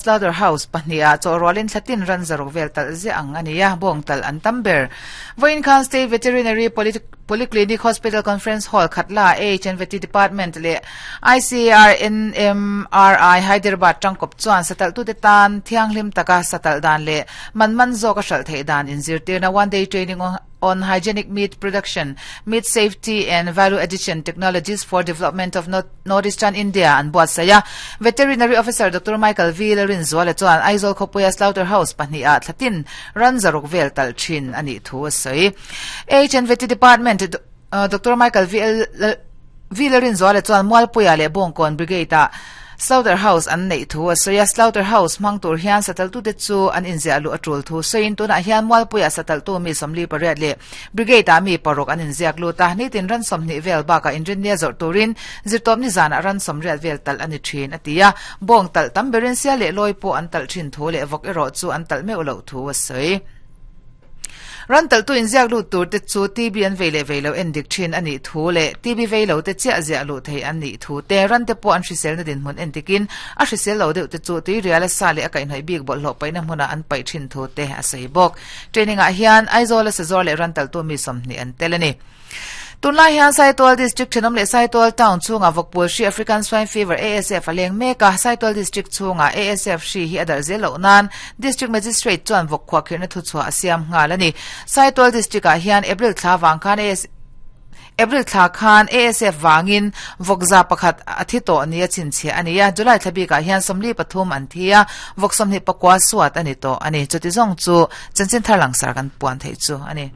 Slaughter House pahniha chawhrualin thlatin ran zaruk vel talh ziah ang a ni a, bawng talh an tam ber. Vawiin khan State Veterinary Polyclinic Hospital Conference Hall Khatla AHNVT Department leh ICAR NMRI Hyderabad tangkawp chuan satalhtute tan thianghlim taka satalh dan leh man man zawk a hralh theih dan inzirtirna One Day Training on Hygienic Meat Production, Meat Safety and Value Addition Technologies for Development of Northeastern India an buatsaih a. Veterinary Officer Doctor Michael V. Lalrinzuala chuan Aizawl khawpuia Slaughter House pahniha thlatin ran zaruk vel talh thin a nih thu a sawi. HNVT Department Doctor Michael V. Lalrinzuala chuan Mualpuia leh Bawngkawn Brigade-ah Slaughter House an neih thu a sawi a, Slaughter House hmang tur hian sataltute chu an inziah luh a tul thu sawiin tunah hian Mualpuia sataltu mi 48 leh Brigade-ah mi paruk an inziak lut a, nitin ran 20 vel bakah inrinnia zawrh turin zirtawpni zanah ran 80 vel talh a ni thin, a ti a, bawng talh tam berin sial leh lawi pawh an talh thin thu leh vawk erawh chu an talh meuh loh thu a sawi. Ran talhtu inziak lut tur te chu TB an vei leh vei lo en dik thin a nih thu leh TB vei lo te chiah ziah luh thei an nih thu te, ran te pawh an hriselna dinhmun en dikin a hrisel lo deuh te chu tuiriala sa leh a kaihhnawih bik bawlhhlawh paihna hmunah an paih thin thu te a sawi bawk. Training ah hian Aizawla sazawr leh ran talhtu mi 20 an tel a ni. Tunlai hian Saitual District thenawm leh Saitual Town chhungah vawkpul hri African Swine Fever, ASF, a leng mek a, Saitual District chhungah ASF hri hi a darh zel loh nan District Magistrate chuan vawk khuahkhirhna thuchhuah a siam nghal a ni. Saitual District ah hian April thla vang khan April thla khan ASF vangin vawk za pakhat a thi tawh ni a chhinchhiah a ni a, July thla bikah hian 43 an thi a, vawk 24 suat a ni tawh a ni. Chuti zawng chu chanchin thar langsar kan puan theih chu a ni.